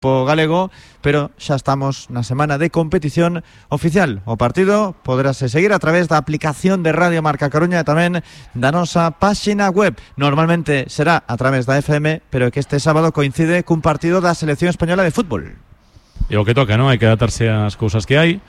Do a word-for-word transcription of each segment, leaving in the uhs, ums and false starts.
galego, pero xa estamos na semana de competición oficial. O partido poderase seguir a través da aplicación de Radio Marca Coruña e tamén da nosa páxina web. Normalmente será a través da F M, pero que este sábado coincide cun partido da Selección Española de Fútbol. E o que toca, non? Hai que adaptarse ás cousas que hai.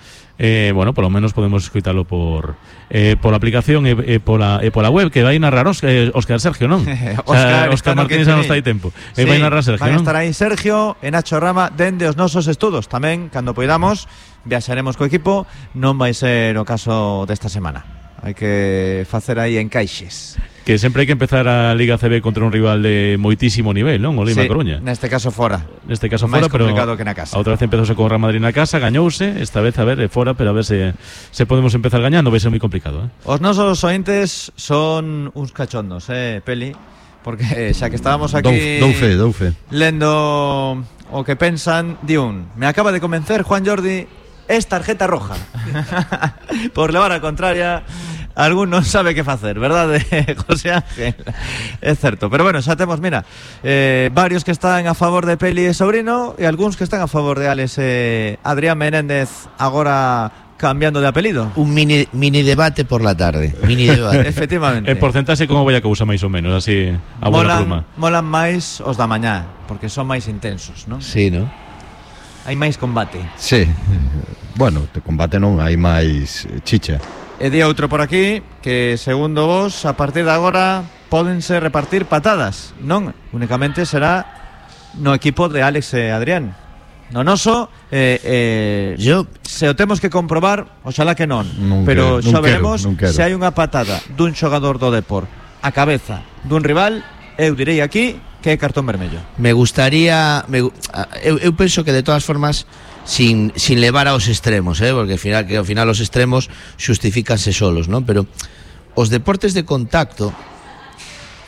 Eh, bueno, polo menos podemos escoitalo por eh, pola aplicación e, e, pola, e pola web, que vai narrar Os, eh, Óscar Sergio, non? Óscar, o sea, Óscar Martínez non está aí tempo. Sí, e vai narrar Sergio, van non? estar aí Sergio e Nacho Rama dende os nosos estudos. Tamén, cando poidamos, viaxaremos co equipo. Non vai ser o caso desta semana. Hai que facer aí encaixes. Que sempre hai que empezar a Liga C B contra un rival de moitísimo nivel, non? O Lima Sí, Coruña. neste caso fora. Neste caso máis fora, pero complicado que na casa. A outra vez empezouse con o Real Madrid na casa, gañouse, esta vez a ver, é fora, pero a ver se se podemos empezar gañando, vai ser moi complicado, eh. Os nosos ointes son uns cachondos, eh, Peli, porque xa que estábamos aquí Dou fe, dou fe. lendo o que pensan, di un: me acaba de convencer Juan Jordi, es tarjeta roja. Por levar a contraria, algún non sabe que facer, verdade, José Ángel? É certo, pero bueno, xa temos, mira, eh, varios que están a favor de Peli e Sobrino e algúns que están a favor de Alex e Adrián Menéndez, agora cambiando de apelido. Un mini mini debate por la tarde, mini debate. Efectivamente. En porcentaxe como vai a cousa máis ou menos, así a bola pluma. Molan máis os da mañá, porque son máis intensos, non? Sí, ¿no? Hai máis combate. Sí. Bueno, de combate non hai máis chicha. E di outro por aquí que, segundo vos, a partir de agora pódense repartir patadas. Non, únicamente será no equipo de Alex e Adrián. No noso, eh, eh, Yo se o temos que comprobar, oxalá que non, non pero quero, xa non veremos quero, non se hai unha patada dun xogador do Depor a cabeza dun rival, eu direi aquí que é cartón vermello. me gustaría me, eu, eu penso que de todas formas sin, sin levar aos extremos, eh, porque ao final, que ao final os extremos justifícanse solos, ¿no? Pero os deportes de contacto,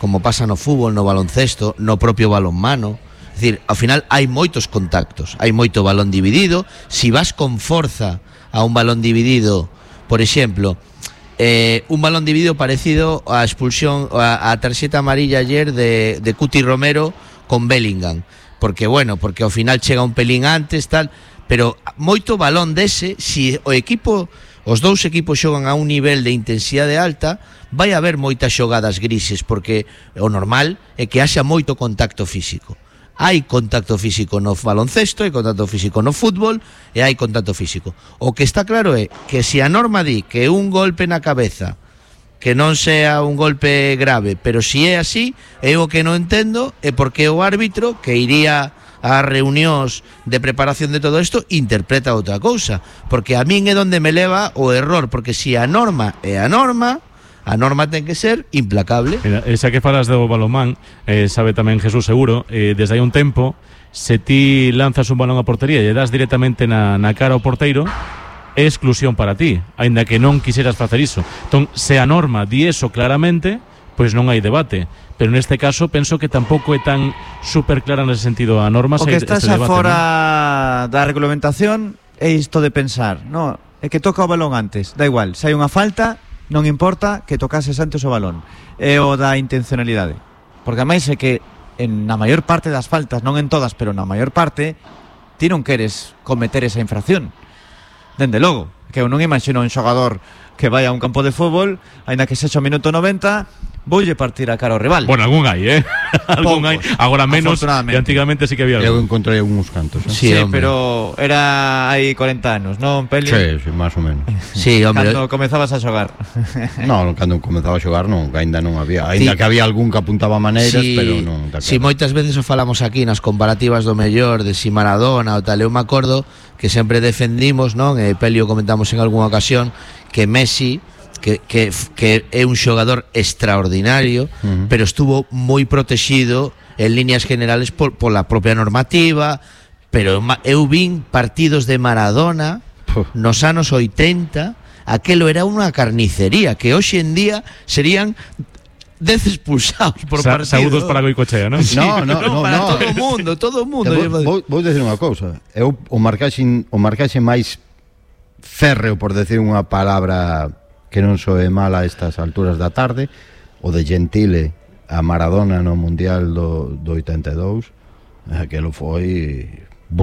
como pasa no fútbol, no baloncesto, no propio balonmano, é dicir, ao final hai moitos contactos, hai moito balón dividido. Si vas con forza a un balón dividido, por exemplo, Eh, un balón dividido parecido á expulsión, a, a tarxeta amarilla ayer de, de Cuti Romero con Bellingham, porque bueno, porque ao final chega un pelín antes, tal, pero moito balón dese, si o equipo, os dous equipos xogan a un nivel de intensidade alta, vai haber moitas xogadas grises, porque o normal é que haxa moito contacto físico. Hai contacto físico no baloncesto, hai contacto físico no fútbol e hai contacto físico. O que está claro é que se a norma di que un golpe na cabeza que non sea un golpe grave, pero si é así, eu o que non entendo é porque o árbitro que iría ás reunións de preparación de todo isto interpreta outra cousa, porque a min é onde me leva o error, porque si a norma é a norma, a norma ten que ser implacable. Mira, xa que falas do balonmán, eh, sabe tamén Jesús seguro, eh, desde hai un tempo, se ti lanzas un balón a portería e das directamente na, na cara ao porteiro, é exclusión para ti, aínda que non quixeras facer iso. Entón, se a norma di eso claramente, pois non hai debate. Pero neste caso penso que tampouco é tan super clara nese sentido a norma. O que está xa fora, ¿no?, da regulamentación é isto de pensar, no, é que toca o balón antes, da igual, se hai unha falta, non importa que tocases antes o balón. É o da intencionalidade, porque ademais é que en na maior parte das faltas, non en todas, pero na maior parte, ti non queres cometer esa infracción. Dende logo, que eu non imagino un xogador que vai a un campo de fútbol, aínda que sexa o minuto noventa, voulle partir a cara ao rival. Bueno, algún hai, eh? algún hai, agora menos, e antigamente sí que había Eu algún. encontrei uns cantos, eh? Sí, Sí, hombre. pero era hai corenta anos, non, Peli? Sí, sí, máis ou menos. Sí, hombre. Cando comezabas a xogar. Non, cando comezaba a xogar non, aínda non había. Aínda Sí. que había algún que apuntaba maneiras, Sí, pero non. si moitas veces o falamos aquí nas comparativas do mellor de si Maradona ou tal, eu me acordo que sempre defendimos, non, e Pelio comentamos en algunha ocasión, que Messi que, que, que é un xogador extraordinario, uh-huh. pero estuvo moi protegido en líneas generales por, por la propia normativa, pero eu vin partidos de Maradona uh. nos anos oitenta, aquelo era unha carnicería que hoxe en día serían dez expulsados por Sa- partido. Saúdos para Goicochea, non? Sí, No, no, no, para no. todo o mundo, todo o mundo. Vou, vou, vou decir unha cousa. Eu o marcaxe o marcaxe máis férreo, por decir unha palabra que non soe mal a estas alturas da tarde, o de Gentile a Maradona no Mundial do, do oitenta e dous, aquelo foi